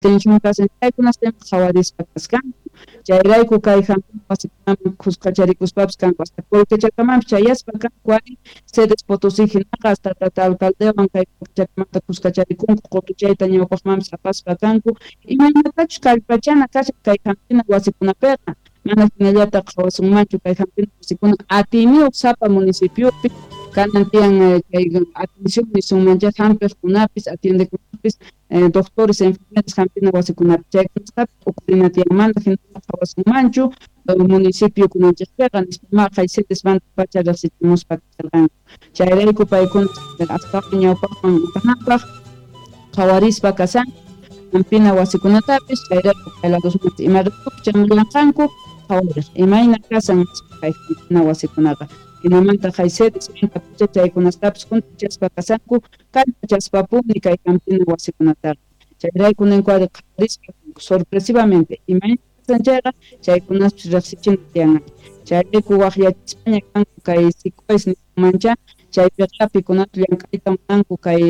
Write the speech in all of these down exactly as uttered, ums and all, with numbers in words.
Tensión kasan chaykunastam qhawarispa kasqanku chayrayku kay hampina wasikunaman khuskacharikuspapas kanku hasta Colquechacamanpis chayaspa kanku ari Sedes Potosí hinaqa hasta tata alcaldewan kay Colquechakamanta khuskacharikunku qutuchayta ñawpaqmanpis apaspa kanku imaynatachus kallpachana kashan kay hampina wasikunapiqa mana hinallata qhawasunmanchu kay hampina wasikuna atiyniyuq sapa municipiopi kanan tiyan chay atención nisunmancha hampiqkunapis atiendekunapis eh, doctores enfermeras hampina wasikunapi chaykunastapis uqrina tiyanmanta hinalla qhawasunmanchu municipio kunanchikpiqa nispa kay Sedesmanta pacha riqsichimuspa kasharqanku chayrayku paykuna astawan ñawpaqman apanapaq qhawarispa kasanku hampina wasikunatapis chayrayku kay ladosmanta ima ratupi chamullanqanku qhawariq imayna kasan kay hampina wasikunaqa hinamanta kay Sedesmanta pacha chaykunastapis juntachaspa kasanku kallpachaspapuni kay hampina wasikunataqa chayrayku ninku ari qhawarispa sorpresivamente imayna kasan chayqa chaykunaspis riqsichina tiyan chayrayku waqyachispaña kanku kay SICOES nisunmancha chaypiqa pikunata llank'ayta munanku kay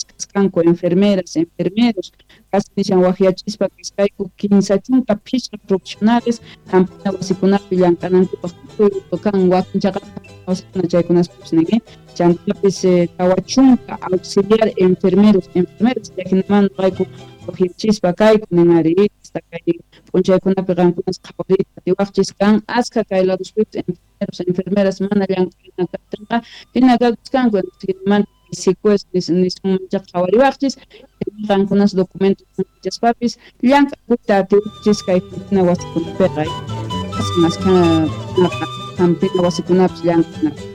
kasqanku enfermeras enfermeros casi nishan waqyachispa kasqayku kinsa chunka phishqa profesionales hampina wasikunapi llank'anankupaq tukuy kan wakin chaqapi wasikuna chaykunaspis nin chantapis tawa chunka auxiliar enfermeros enfermeras chayhinamanta noqayku waqyachispa kayku nin ari hasta kay p'unchaykunapi qankunas qhawariyta atiwaqchis kan askha kay ladospipis enfermeros enfermeras mana llank'ana kaptinqa hina kakuskanku hinamanta SICOES nisunmancha qhawariwaqchis qankunas documentos chaspapis llank'akuyta atiwaqchis kay hampina wasikunapiqa askha hampina wasikunapis llank'ana.